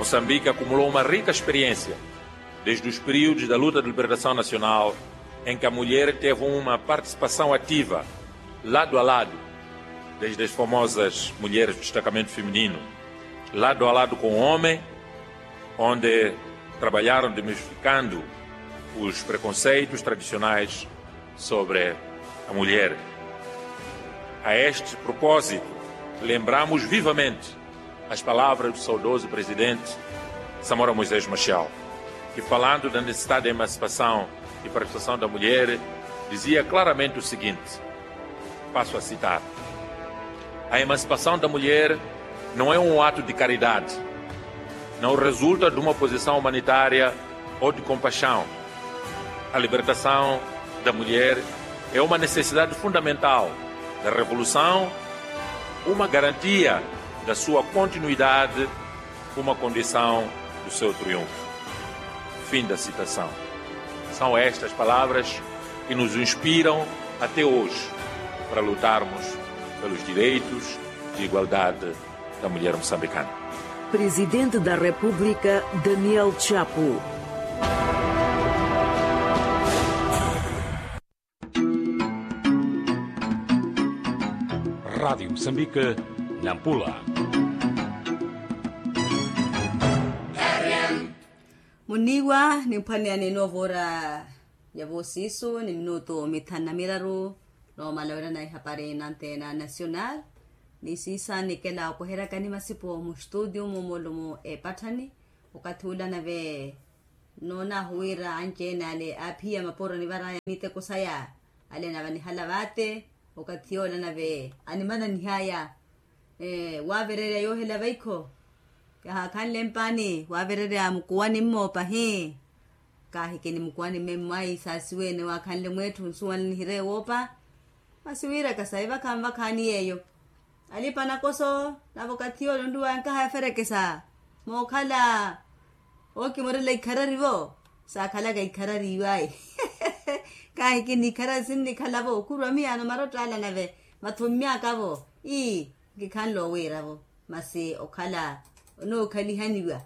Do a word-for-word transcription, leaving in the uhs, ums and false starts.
Moçambique acumulou uma rica experiência desde os períodos da luta de libertação nacional, em que a mulher teve uma participação ativa, lado a lado, desde as famosas mulheres do destacamento feminino, lado a lado com o homem, onde trabalharam desmistificando os preconceitos tradicionais sobre a mulher. A este propósito, lembramos vivamente as palavras do saudoso presidente Samora Moisés Machel, que, falando da necessidade da emancipação e participação da mulher, dizia claramente o seguinte: Passo a citar: A emancipação da mulher não é um ato de caridade, não resulta de uma posição humanitária ou de compaixão. A libertação da mulher é uma necessidade fundamental da revolução, uma garantia da sua continuidade, uma condição do seu triunfo. Fim da citação. São estas palavras que nos inspiram até hoje para lutarmos pelos direitos de igualdade da mulher moçambicana. Presidente da República, Daniel Chapo. Rádio Moçambique, Nampula. Muniwa, nimphwaneyani noovora ya voosiisu ni minutu mithanu na miraru. Noomala wira na ihapari nantena nacional. Ni siisa nikela opweheryakani masipo mu studio mumolumo epatthani. Okathi ula nave noonaahu wira anci-ene ale aaphiya mapuro anivaraya miteko saya. Ale nave anihala vaate. Okathi yoola nave animananihaya. Waavererya yoohela vaikho. Kahaakhanle mpaani waavererya mukuwani mmo pahi. Kaahikini mukuwani mme mmayi saasiweene waakhanle mweetthu nsuwanle nihireye woopa. Masi wiiraka sayi vakha nvakhaani yeeyo. Alipa nakoso nave okathi yoola onruwaya nkaha yaferekesa. Mookhala ookimorela ikharari vo. Saakhalaka ikharari iwayi. Kaahikini ikharari sinnikhala vo okhurwa miyaano marotta ala nave mathummyaka vo. Ii. Nkikhanle owiira vo. Masi okhala onookhaliha aniwa.